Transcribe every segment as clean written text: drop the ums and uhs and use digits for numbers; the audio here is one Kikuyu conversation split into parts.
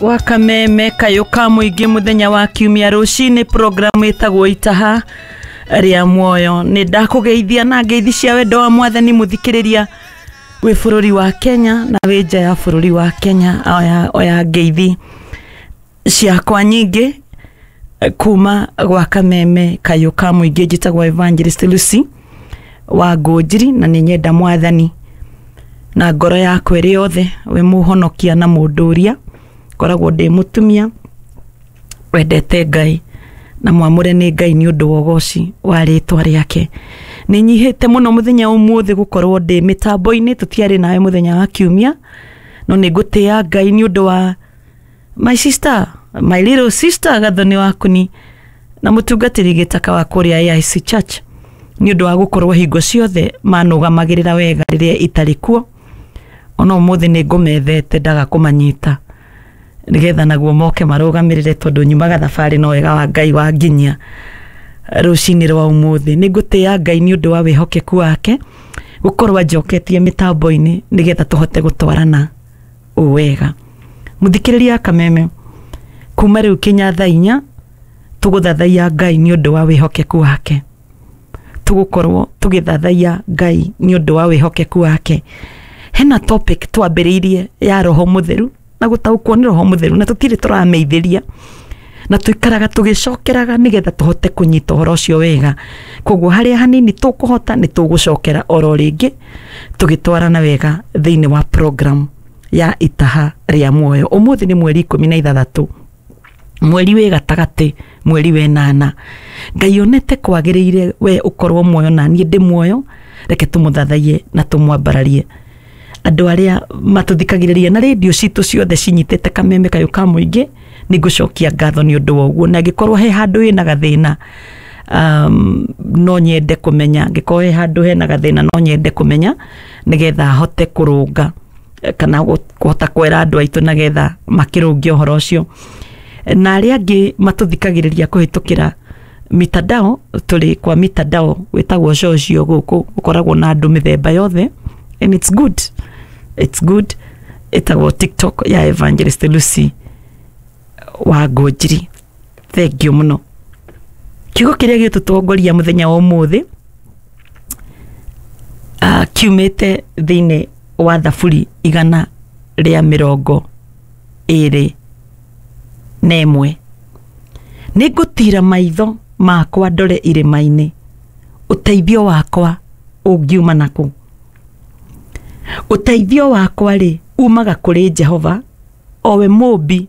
Wa Kameme kayũ ka mũingĩ mũthenya wa kiumia rũcinĩ, programu ĩtagwo Itaha rĩa Muoyo. Nĩ ndakũgeithia na ngeithi cia wendo wa Mwathani, mũthikĩrĩria wĩ bũrũri wa Kenya na wĩ nja ya bũrũri wa Kenya. Oya ngeithi ciakwa nyingĩ kuma gwa Kameme kayũ ka mũingĩ. Njĩtagwo Evangelist Lucy wa Ngũnjiri, na nĩ nyenda Mwathani na ngoro yakwa ĩrĩ yothe, we mũhonokia na mũndũria. Ngoragwo ndĩ mũtumia wendete Ngai na mwamũre nĩ Ngai nĩ ũndũ wa ũgoci wa rĩtwa rĩake. Nĩ nyihĩte mũno mũthenya ũmũthĩ gũkorwo ndĩ mĩtambo-inĩ, tũtiarĩ nawe mũthenya wa kiumia, no nĩ ngũtĩĩa Ngai nĩ ũndũ wa my sister, my little sister Gathoni Wakuni na mũtungatĩri gĩtaka wa kũrĩa AIC Church, nĩ ũndũ wa gũkorwo hingo ciothe manũgamagĩrĩra wega rĩrĩa itarĩ kuo. Ona ũmũthĩ nĩ ngũmethete ndaga kũmanyita nĩgetha naguo moke marũgamĩrĩre, tondũ nyumaga thabarĩ, no wega wa Ngai wanginyia rũcinĩ rwa ũmũthĩ. Nĩ ngũtĩĩa Ngai nĩ ũndũ wa wĩhokeku wake gũkorwo anjoketie mĩtambo-inĩ nĩgetha tũhote gũtwarana ũũ wega. Mũthikĩrĩria Kameme, kuma rĩu kinya thaa 4 tũgũthathaiya Ngai nĩ ũndũ wa wĩhokeku wake. Tũgũkorwo tũgĩthathaiya Ngai nĩ ũndũ wa wĩhokeku wake. Hena topic twambĩrĩirie ya Roho Mũtheru na gũtaũkwo nĩ Roho Mũtheru, na tũtirĩ tũrameithĩria, na tũikaraga tũgĩcokeraga nĩgetha tũhote kũnyita ũhoro ũcio wega. Koguo harĩa hanini tũkũhota nĩ tũgũcokera oro rĩngĩ, tũgĩtwarana wega thĩinĩ wa program ya Itaha rĩa Muoyo. Ũmũthĩ nĩ mweri 16, mweri wĩ gatagatĩ, mweri wenana. Ngai onete kwagĩrĩire we ũkorwo muoyo na niĩ ndĩ muoyo. Reke tũmũthathaiye na tũmwambararie. Andũ arĩa matũthikagĩrĩria na rĩndiũ citũ ciothe cinyitĩte Kameme kayũ ka mũingĩ, nĩ ngũcokia ngatho nĩ ũndũ wa ũguo. Na angĩkorwo he handũ wĩna gathĩna, no nyende kũmenya. Angĩkorwo he handũ hena gathĩna, no nyende kũmenya nĩgetha hote kũrũnga kana kũhota kwĩra andũ aitũ nĩgetha makĩrũnge ũhoro ũcio. Na arĩa angĩ matũthikagĩrĩria kũhĩtũkĩra mitandao, tũrĩ kwa mitandao wĩtagwo social, gũkũ ũkoragwo na andũ mĩthemba yothe, and it's good, it's good. Ĩtagwo TikTok ya Evangelist Lucy wa Ngũnjiri. Thank you mũno. Kiugo kĩrĩa gĩtũtongoria mũthenya wa ũmũthĩ kiumĩte thĩinĩ wa Thaburi 121. Nĩ ngũtira maitho makwa ndore irĩma-inĩ, ũteithio wakwa ũngiuma nakũ? Ũteithio wakwa rĩ, umaga kũrĩ Jehova, o we mũmbi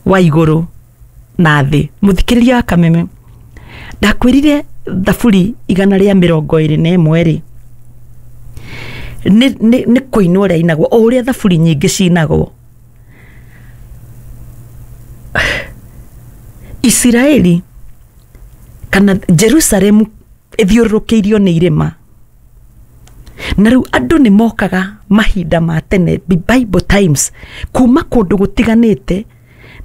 wa igũrũ na thĩ. Mũthikĩrĩria wa Kameme, ndakwĩrire Thaburi 121 rĩ, nĩ kũinwo ũrĩa inagwo, o ũrĩa thaburi nyingĩ cinagwo. Isiraeli kana Jerusalemu ĩthiũrũrũkĩirio nĩ irĩma, na rĩu andũ nĩ mokaga mahinda ma tene, Bible times, kuma kũndũ gũtiganĩte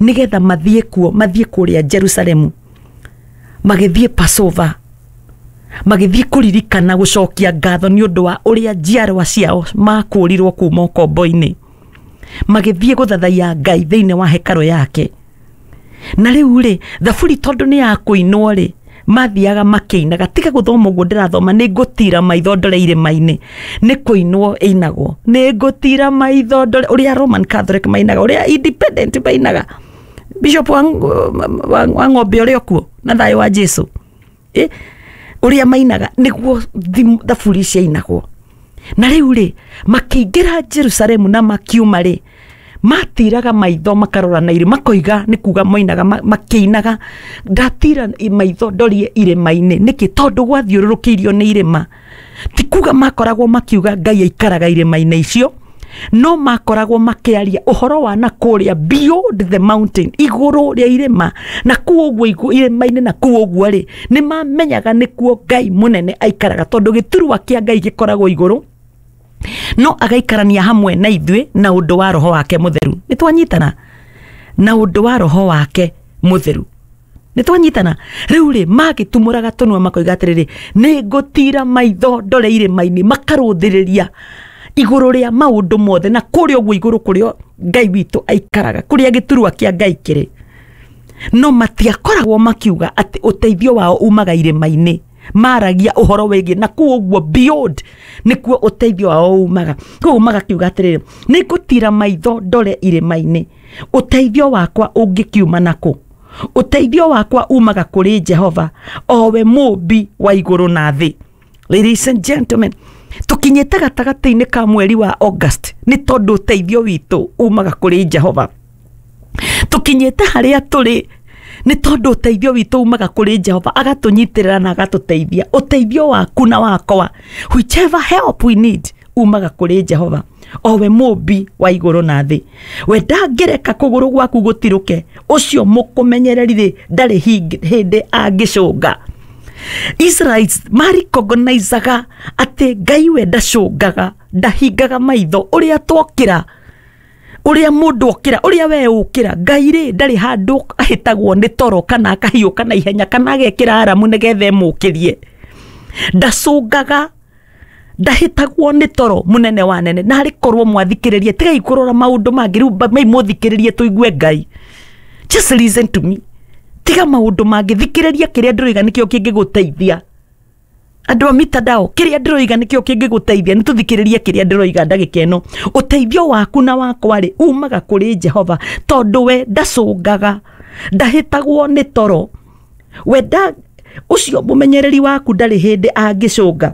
nĩgetha mathiĩ kuo, mathiĩ kũrĩa Jerusalemu, magĩthiĩ Passover, magĩthiĩ kũririkana gũcokia ngatho nĩ ũndũ wa ũrĩa njiarwa ciao makũrirwo kuma ũkombo-inĩ, magĩthiĩ gũthathaiya Ngai thĩinĩ wa hekarũ yake. Na rĩu rĩ, thaburi tondũ nĩ ya kũinwo rĩ, mathiaga makĩinaga. Tiga gũthoma ũguo ndĩrathoma, nĩ ngũtira maitho ndore irĩma-inĩ, nĩ kũinwo ĩinagwo, nĩ ngũtira maitho ndore, ũrĩa Roman Catholic mainaga, ũrĩa Independent mainaga, Bishop wa ng'ombe ũrĩa ũkuo na thayũ wa Jesu, ũrĩa mainaga nĩguo thaburi ciainagwo. Na rĩu rĩ, makĩingĩra Jerusalemu na makiuma rĩ, matiraga maitho makarora na irĩ, makoiga, nĩ kuga moinaga makĩinaga, ndatira maitho ndorie irĩma-inĩ. Nĩkĩ? Tondũ gwathiũrũrũkĩirio nĩ irĩma. Ti kuga makoragwo makiuga Ngai aikaraga irĩma-inĩ icio, no makoragwo makĩaria ũhoro wa na kũrĩa beyond the mountain, igũrũ rĩa irĩma, na kuo ũguo irĩma-inĩ, na kuo ũguo rĩ, nĩ mamenyaga nĩkuo Ngai mũnene aikaraga, tondũ gĩturwa kĩa Ngai gĩkoragwo igũrũ, no agaikarania hamwe na ithuĩ na ũndũ wa Roho wake Mũtheru. Nĩ twanyitana? Na ũndũ wa Roho wake Mũtheru, nĩ twanyitana? Rĩu rĩ, magĩtumũraga tũnua makoiga atĩrĩrĩ, nĩ ngũtira maitho ndore irĩma-inĩ, makarũthĩrĩria. Igũrũ rĩa maũndũ mothe na kũrĩa ũguo igũrũ kũrĩa Ngai witũ aikaraga, kũrĩa gĩturwa kĩa Ngai kĩrĩ. No matiakoragwo makiuga atĩ ũteithio wao umaga irĩma-inĩ. Maragia ũhoro wĩgiĩ na kũu ũguo beyond nĩkuo ũteithio wao umaga. Koguo magakiuga atĩrĩrĩ, nĩngũtira maitho ndore irĩma-inĩ, ũteithio wakwa ũngĩkiuma nakũ? Ũteithio wakwa umaga kũrĩ Jehova, o we mũmbi wa igũrũ na thĩ. Ladies and gentlemen, tũkinyĩte gatagatĩ-inĩ ka mweri wa August nĩ tondũ ũteithio witũ umaga kũrĩ Jehova. Tũkinyĩte harĩa tũrĩ nĩ tondũ ũteithio witũ umaga kũrĩ Jehova, agatũnyitĩrĩra na agatũteithia. Ũteithio waku na wakwa, whichever help we need, umaga kũrĩ Jehova, o we mũmbi wa igũrũ na thĩ. We ndangĩreka kũgũrũ gwaku gũtirũke, ũcio mũkũmenyereri rĩ ndarĩ hĩndĩ angĩcũnga. Israelites maricognizaga atĩ Ngai we ndacũngaga, ndahingaga maitho. Ũrĩa twokĩra, ũrĩa mũndũ okĩra, ũrĩa we ũkĩra, Ngai rĩ ndarĩ handũ ahĩtagwo nĩ toro kana akahiũka na ihenya kana agekĩra aramu nĩgetha ĩmũkĩrie. Ndacũngaga, ndahĩtagwo nĩ toro, mũnene wa nene. Na harĩ korwo mwathikĩrĩrie, tigai kũrora maũndũ mangĩ rĩu, mai mũthikĩrĩrie tũigue Ngai. Just listen to me, tiga maũndũ mangĩ, thikĩrĩria kĩrĩa ndĩroiga nĩkĩo kĩngĩgũteithia. Andũ a mitandao, kĩrĩa ndĩroiga nĩkĩo kĩngĩgũteithia. Nĩ tũthikĩrĩrie kĩrĩa ndĩroiga ndagĩka ĩno. Ũteithio waku na wakwa rĩ umaga kũrĩ Jehova, tondũ we ndacũngaga, ndahĩtagwo nĩ toro. We nda ũcio mũmenyereri waku ndarĩ hĩndĩ angĩcũnga.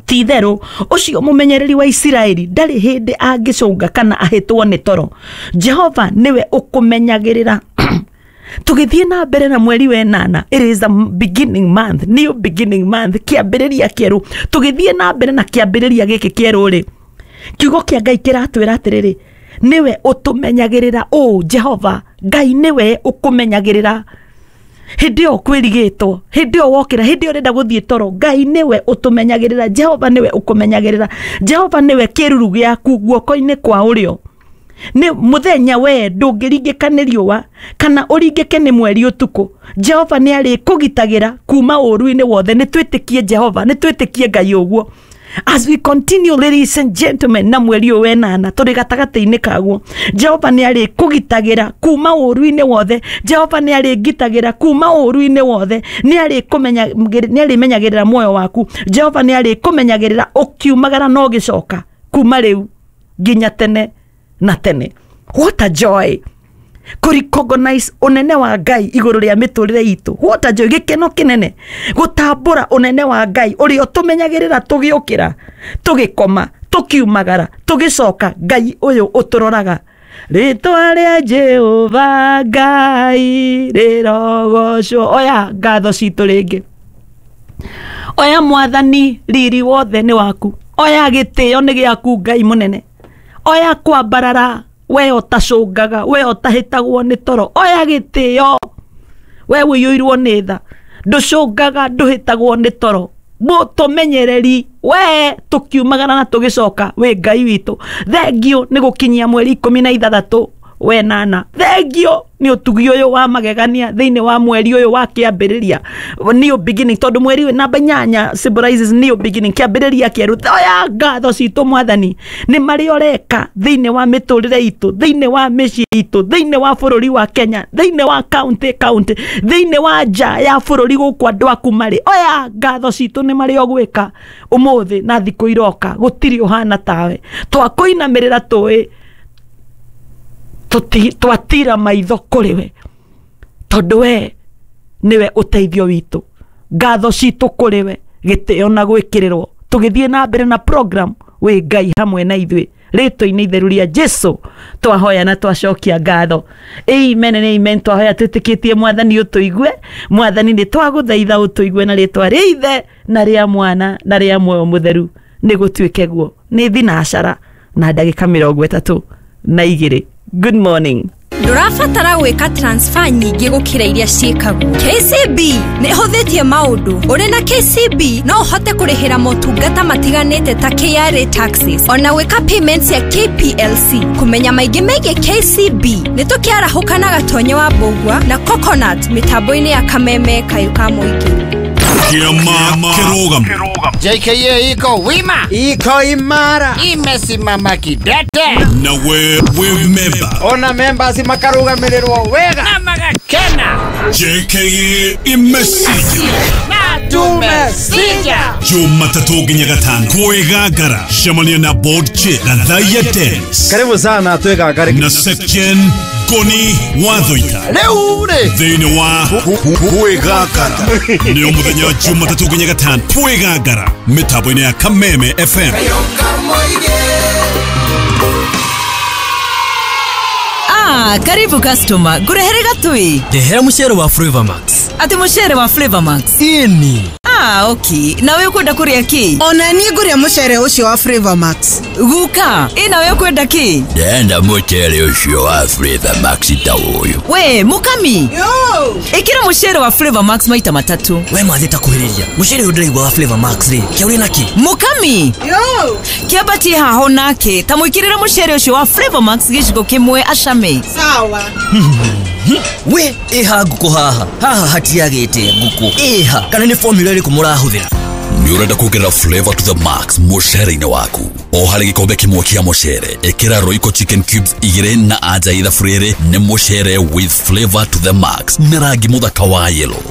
Ti itherũ ũcio mũmenyereri wa Isiraeli ndarĩ hĩndĩ angĩcũnga kana ahĩtwo nĩ toro. Jehova nĩwe ũkũmenyagĩrĩra. Tũgĩthiĩ na mbere na mweri wa ĩnana, it is a beginning month, new beginning month, kĩambĩrĩria kĩerũ. Tũgĩthiĩ na mbere na kĩambĩrĩria gĩkĩ kĩerũ rĩ, kiugo kĩa Ngai kĩratwĩra atĩrĩrĩ, nĩwe ũtũmenyagĩrĩra. Ũũ Jehova Ngai nĩwe ũkũmenyagĩrĩra hĩndĩ ĩyo kwĩrigĩtwo, hĩndĩ ĩyo wokĩra, hĩndĩ ĩyo ũrenda gũthiĩ toro. Ngai nĩwe ũtũmenyagĩrĩra. Jehova nĩwe ũkũmenyagĩrĩra. Jehova nĩwe kĩruru gĩaku guoko-inĩ kwa ũrĩo. Nĩ mũthenya we ndũngĩringĩka nĩ riũa kana ũringĩke nĩ mweri ũtukũ. Jehova nĩ arĩkũgitagĩra kuma ũũru-inĩ wothe. Nĩ twĩtĩkie Jehova, nĩ twĩtĩkie Ngai ũguo. As we continue, ladies and gentlemen, na mweri ũyũ wenana tũrĩ gatagatĩ-inĩ kaguo, Jehova nĩ arĩkũgitagĩra kuma ũũru-inĩ wothe. Jehova nĩ arĩngitagĩra kuma ũũru-inĩ wothe. Nĩ arĩmenyagĩrĩra muoyo waku. Jehova nĩ arĩkũmenyagĩrĩra ũkiumagara na ũgĩcoka kuma rĩu nginya tene na tene. What a joy kũrecognize ũnene wa Ngai igũrũ rĩa mĩtũrĩre itũ. What a joy, gĩkeno kĩnene gũtambũra ũnene wa Ngai ũrĩa ũtũmenyagĩrĩra tũgĩũkĩra, tũgĩkoma, tũkiumagara, tũgĩcoka. Ngai ũyũ ũtũroraga. Rĩtwa rĩa Jehova Ngai rĩrogocwo. Oya ngatho citũ rĩngĩ, oya Mwathani, riri wothe nĩ waku. Oya gĩtĩo nĩ gĩaku, Ngai mũnene. Oya kwambarara, we ũtacũngaga, we ũtahĩtagwo nĩ toro. Oya gĩtĩo, we ũiyũirwo nĩ tha, ndũcũngaga, ndũhĩtagwo nĩ toro, mũtũmenyereri we tũkiumagara na tũgĩcoka. Wĩ Ngai witũ, thengio nĩ gũkinyia mweri 16 wenana. Thengio nĩ ũtugi ũyũ wa magegania thĩinĩ wa mweri ũyũ wa kĩambĩrĩria, new beginning, tondũ mweri ũyũ namba 8 symbolizes new beginning, kĩambĩrĩria kĩerũ. Oya ngatho citũ, Mwathani, nĩ marĩa ũreka thĩinĩ wa mĩtũrĩre itũ, thĩinĩ wa mĩciĩ itũ, thĩinĩ wa bũrũri wa Kenya, thĩinĩ wa county county, thĩinĩ wa nja ya bũrũri gũkũ andũ aku marĩ. Oya ngatho citũ nĩ marĩa ũgwĩka ũmũthĩ na thikũ iroka. Gũtirĩ ũhana tawe. Twakũinamĩrĩra, tũĩ twatira maitho kũrĩ we, tondũ we nĩwe ũteithio witũ. Ngatho citũ kũrĩ we, gĩtĩo na gwĩkĩrĩrwo. Tũgĩthiĩ na mbere na program, wĩ Ngai hamwe na ithuĩ. Rĩtwa-inĩ itheru rĩa Jesu twahoya na twacokia ngatho. Amen and amen. Twahoya twĩtĩkĩtie Mwathani ũtũigue. Mwathani, nĩ twagũthaitha ũtũigue na rĩtwa rĩa Ithe na rĩa Mwana na rĩa Muoyo Mũtheru, nĩ gũtuĩke guo. Nĩ thinacara na ndagĩka 32. Good morning. Ndũrabatara gwĩka transfer nyingĩ gũkĩra iria ciĩkagwo. KCB nĩ ĩhũthĩtie maũndũ. Ũrĩ na KCB no ũhote kũrĩhĩra motungata matiganĩte ta KRA taxes, ona gwĩka payments ya KPLC. Kũmenya maingĩ megiĩ KCB, nĩ tũkĩarahũka na Gatonye wa Mbũgua na Coconut mĩtambo-inĩ ya Kameme Kayũ ka Mũingĩ. Kĩama kĩrũgamo. JKA iko wima, iko imara, imesimama kidete. Na we wĩ memba. Ona members makarugamirĩrwo wega na magakena. JKA imesija na tumesija. Jumatatũ nginya gatano kwĩgangara cemania na board chair Gathaia Dennis. Karibu sana twĩgangare na Section Ngoni Wathoita rĩu rĩ thĩinĩ wa kwĩgangara. Nĩ mũthenya wa Jumatatũ nginya gatano kwĩgangara mĩtambo-inĩ ya Kameme FM. Karibu customer, ngurehere gatui. Ndehera mucere wa Flavor Max. Ati mucere wa Flavor Max? Ini. Okay. Nawe ukwenda kuria ki? Ona niĩ ngũrĩa mucere ũcio wa Flavor Max. Guka, ĩ nawe ukwenda ki? Ndenda mucere ũcio wa Flavor Max ta ũyũ. We, mukami. Yo. Ĩkĩra mucere wa Flavor Max maita matatu. We mathi ta kuhĩrĩria. Mucere ũyũ ndĩraigua wa Flavor Max rĩ, kĩaũrĩ na kĩ? Mukami. Yo. Kĩambatie haho nake, ta mwĩkĩrĩre mucere ũcio wa Flavor Max gĩciko kĩmwe acame. Sawa. We, ĩha ngũkũ haha. Haha hatiagĩte ngũkũ. Ĩha, kana nĩ formula ĩrĩkũ mũrahũthĩra? Nĩ ũrenda kuongerera flavor to the max mũcere-inĩ waku. O harĩ gĩkombe kĩmwe kĩa mũcere, ĩkĩra Royco chicken cubes 2 na anja ithabu rĩrĩ nĩ mũcere with flavor to the max na rangi mũthaka wa yellow.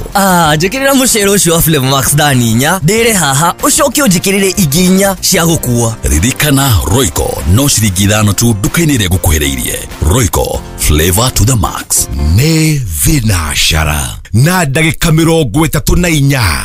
Njĩkĩrĩra mũcere ũcio wa Flavor Max thani 4, ndĩre haha, ũcoke ũnjĩkĩrĩre ingĩ 4 cia gũkua. Ririkana Royco no ciringi 5 tu nduka-inĩ ĩrĩa ngũkuhĩrĩirie. Royco, flavor to the max. Nĩ thinacara na ndagĩka 34.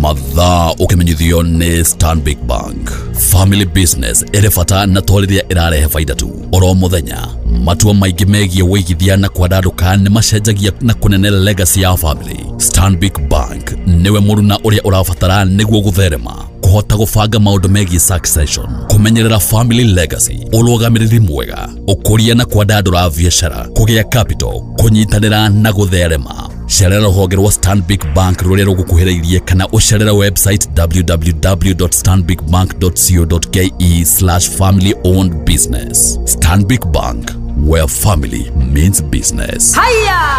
Mathaa ũkĩmenyithio nĩ Stanbic Bank. Family business ĩrĩ bata na to rĩrĩa ĩrarehe baida tu. Oro mũthenya matua maingĩ megiĩ wĩigithia na kwandandũka nĩ macenjagia na kũnene legacy ya family. Stanbic Bank nĩwe mũruna ũrĩa ũrabatara nĩguo gũtherema, kũhota gũbanga maũndũ megiĩ succession, kũmenyerera family legacy, ũrũgamĩrĩri mwega, ũkũria na kwandandũra biacara, kũgĩa capital, kũnyitanĩra na gũtherema. Cerera rũhonge rwa Stanbic Bank rũrĩa rũgũkuhĩrĩirie kana ũcerere website www.stanbicbank.co.ke/family owned business. Stanbic Bank, where family means business. Haya!